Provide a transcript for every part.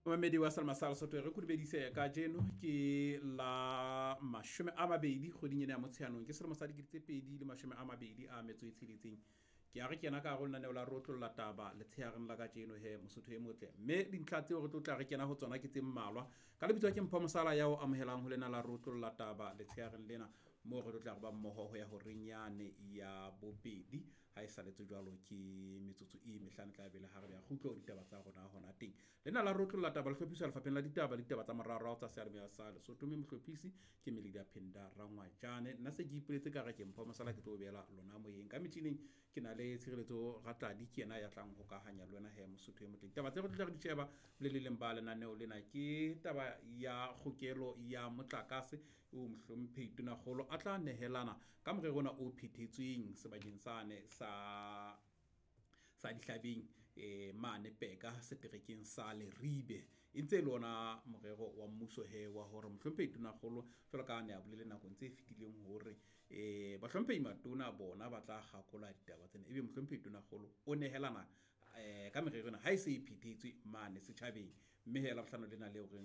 Momamedi wa Salma sa Lesotho, re kodumedise kajeno ke la 20 kgweding ena ya Motsheanong, ke selemo sa 2026. Ke a re kena ka hare ho lenaneo la Rotlolla Taba letshehareng la kajeno he Mosotho e motle, mme dintlha tseo re tlo tla re kena ho tsona ke tse mmalwa. Ka lebitso ke Mpho Mosala ya o amohelang ho lena la Rotlolla Taba letshehareng lena, moo re tlo tla re ba mmoho ho ya horeng yane ya bobedi. Ha e saletse jwalo ke metsotso e mehlano tla bele ha re ya kgutlo ditaba tsa rona hona teng. Lena la Rotlolla Taba le hlophiswa lefapheng la ditaba le ditaba tsa moraorao tsa seyalemoya sa Lesotho, mme mohlophisi ke Melida Phenda Rangwajane. Nna se ke ipoletse ka re ke Mpho Mosala, ke tlo beela lona moyeng. Ka metjhining ke na le Tshireletso Ratladi, ke yena ya tlang ho hokahanya le wena he Mosotho e motle. Ditaba tse re tlo tla re di sheba le le leng ba lenaneo lena ke taba ya kgokelo ya motlakase o mohlomphehi Tonakgolo a tla nehelana ka morero ona o phethetsweng sebakeng sane sa Dihlabeng mane Peka seterekeng sa Leribe. E ntse e le ona morero wa mmuso he wa hore mohlomphehi Tonakgolo jwalo ka ne a bolele nakong tse fetileng hore bahlomphehi matona bona ba tla kgakola ditaba tsena, ebe mohlomphehi Tonakgolo o nehelana ka merero ena ha e se e phethetswe mane setjhabeng. Mme he Labohlano lena leo re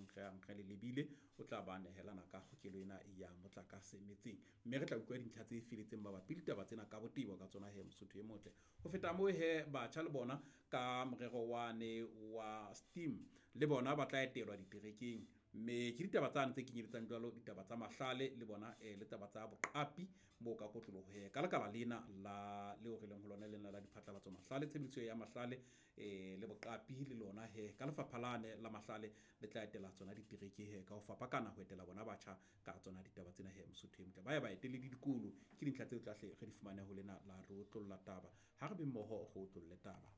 re le lebile o tla ba nehelana ka kgokelo ena ya motlakase metseng, mme re tla utlwa dintlha tse feletseng mabapi le ditaba tsena ka botebo ka tsona he Mosotho e motle. Ho feta moo he batjha le bona ka morero wane wa STEAM le bona ba tla etelwa diterekeng, mme ke ditaba tsane tse kenyeletsang jwalo ditaba tsa mahlale le bona le taba tsa boqapi moo ka kotloloho he ka lekala lena la leo re leng ho lona lena la diphatlalatso mahlale, tshebediso ya mahlale le boqapi le lona he ka lefapha lane la mahlale le tla etela tsona ditereke he ka ho fapakana ho etela bona batjha ka tsona ditaba tsena he Mosotho e motle. Ba ya ba etele le dikolo, ke dintlha tseo tlahle re di fumane ho lena la Rotlolla Taba. Ha re be mmoho go otlolle taba.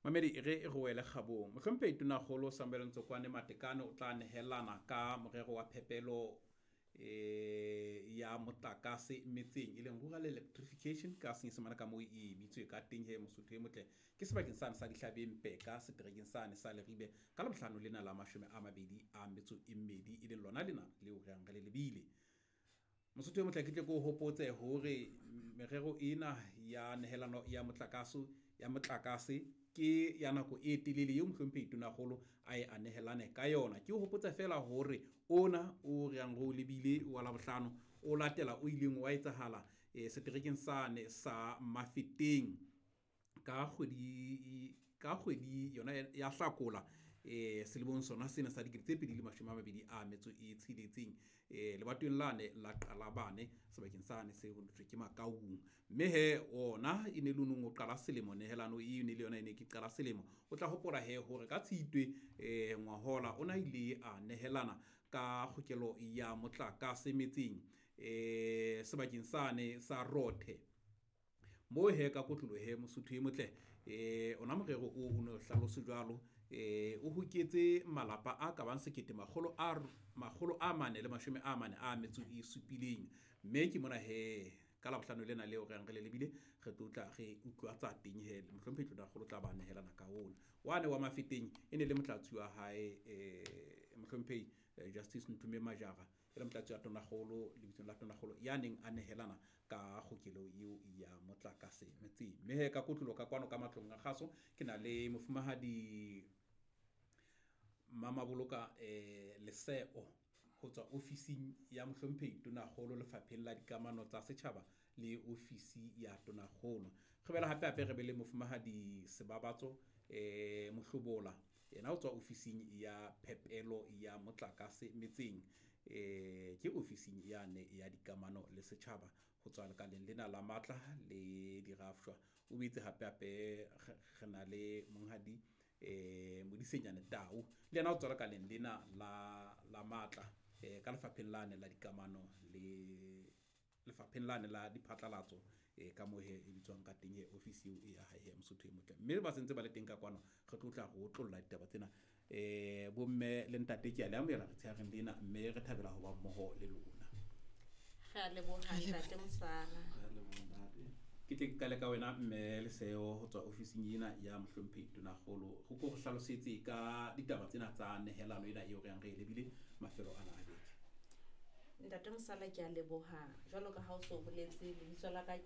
Mamedi re re wele kgabong. Mohlomphehi Tonakgolo Samuel Ntsokwane Matekane o tla nehelana ka morero wa phepelo ya motlakase metseng, e leng rural electrification ka senyesemane ka moo e bitswe ka teng he Mosotho e motle. Ke sebakeng sane sa Dihlabeng Peka seterekeng sane sa Leribe ka Labohlano lena la 22, e leng lona lena leo re yang re le lebile. Mosotho e motle, ke tle ke o hopotse hore merero ena ya nehelano ya motlakase ke ya nako e telele eo mohlomphehi Tonakgolo a e anehelane ka yona. Ke o hopotsa feela hore ona o re yang re o lebile wa Labohlano o latela o ileng wa etsahala seterekeng sane sa Mafeteng ka kgwedi yona ya Hlakola selemong sona sena sa 2026 lebatoweng lane la Qalabane sebakeng sane se ho thwe ke Makaung. Mme he ona e ne le nong o qala selemo, nehelano e ne le yona e ne ke qala selemo. O tla hopola he hore ka Tshitwe ngwahola ona ile a nehelana ka kgokelo ya motlakase metseng sebakeng sane sa Rothe. Mo he ka kotlolo he Mosotho e motle ona morero o no hlalose jwalo o hoketse malapa a ka bang 1447. Mme ke mona he ka Labohlano lena leo re yang re le lebile re tlo tla re utlwa tsa teng he mohlomphehi Tonakgolo tla ba nehelana ka ona. Wane wa Mafeteng e ne le motlatsi wa hae mohlomphehi Justice Nthume Majara, e le motlatsi wa Tonakgolo lebitsong la Tonakgolo ya neng a nehelana ka kgokelo eo ya motlakase metseng. Mme he ka kotlolo ka kwano ka matlong a kgaso ke na le mofumahadi Mamaboloka Leseo ho tswa ofising ya mohlomphehi Tonakgolo lefapheng la dikamano tsa setjhaba le ofisi ya Tonakgolo. Re bela hape hape re be le mofumahadi Sebabatso Mohlobola, yena o tswa ofising ya phepelo ya motlakase metseng, ke ofising yane ya dikamano le setjhaba ho tswa lekaleng lena la matla le dirafshwa. O boetse hape hape re na le monghadi Modisenyane Tau, le yena o tswa lekaleng lena la matla ka lefapheng lane la dikamano le lefapheng lane la diphatlalatso ka moo he e bitswang ka teng he ofisi eo e ya hae he Mosotho e motle. Mme ba sentse ba le teng ka kwano re tlo tla re otlolla ditaba tsena. Bomme le ntate ke a le amohela letshehareng lena, mme re thabela ho ba mmoho le lona. Re a leboha ntate Mosala. Ke tle ke qale ka wena mme Leseo ho tswa ofising ena ya mohlomphehi Tonakgolo. Re ko re hlalosetse ka ditaba tsena tsa nehelano ena eo re yang re e lebile mafelo ana a beke. Ntate Mosala, ke a leboha. Jwalo ka ha o so boletse, lebitso la ka ke